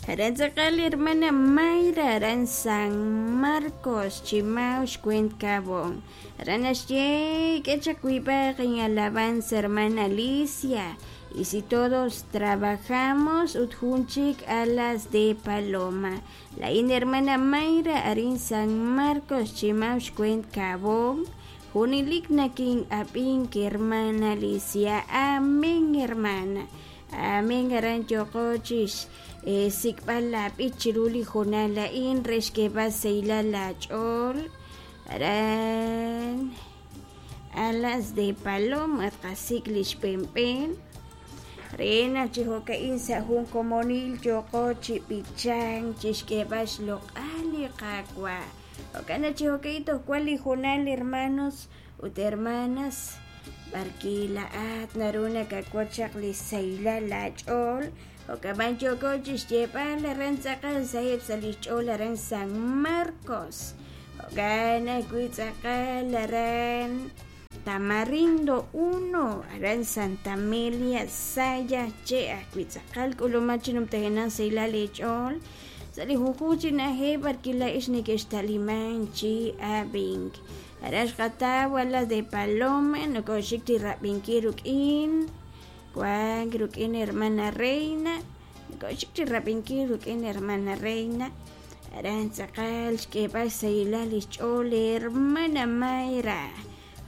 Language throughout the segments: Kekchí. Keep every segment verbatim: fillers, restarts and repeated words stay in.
Aran tz'aqal hermana Mayra aran San Marcos Chimao xweent Kaabong aran naxye k'e chaq wiib'aq inalabanza hermana Alicia y si todos trabajamos ut jun chik alas de paloma laa'in hermana Mayra arin San Marcos Chimao xweent Kaabong junelik nakin'ab'ink hermana Alicia amén hermana amén aran yooqo chi xsik'b'al laab'ich chiru li hoonal a'in re xk'eeb'al xsahilal laach'ool aran alas de paloma tqasik' li xb'een re naq chi jo'ka'in sa' jun komonil yooqo chi b'ichank chi xk'eeb'al xloq'al li Qaawa' jo'kan naq chi jo'ka'in toj wan li hoonal hermanos ut hermanas b'arwi' laa'at naru nakawotz chaq li xsahilal laach'ool jo'kan yooko chi xyeeb'al aran tz'aqal saheb' sa' li xch'ool aran San Marcos jo'kan ajwi' tz'aqal aran Tamarindo uno aran Santa Amelia Sayaxche' ajwi' tz'aqal k'uluman chi numtajenaq xsahilal eech'ool sa' li junjunq chi na'ajej b'arwi' laa'ex neke'xtaliman chi ab'ink aran xqataw alas de paloma nokoxik chi rab'inkil ruk'in wank ruk'in hermana Reina nokoxik chi rab'inkil ruk'in hermana Reina aran tz'aqal xk'eeb'al xsahilal li xch'ool hermana Mayra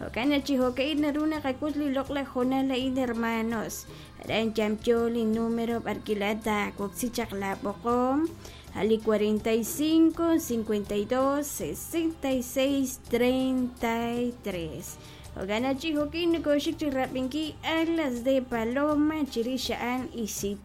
jo'kan naq chi jo'ka'in naru naqak'ut li loq'laj hoonal a'in hermanos aran yamyo li número b'arwi' laa'at taawoksi chaq laab'oqom a li cuarenta y cinco, cincuenta y dos, sesenta y seis, treinta y tres jo'kan naq chi jo'ka'in nokoxik chi rab'inkil alas de paloma chirix a'an y si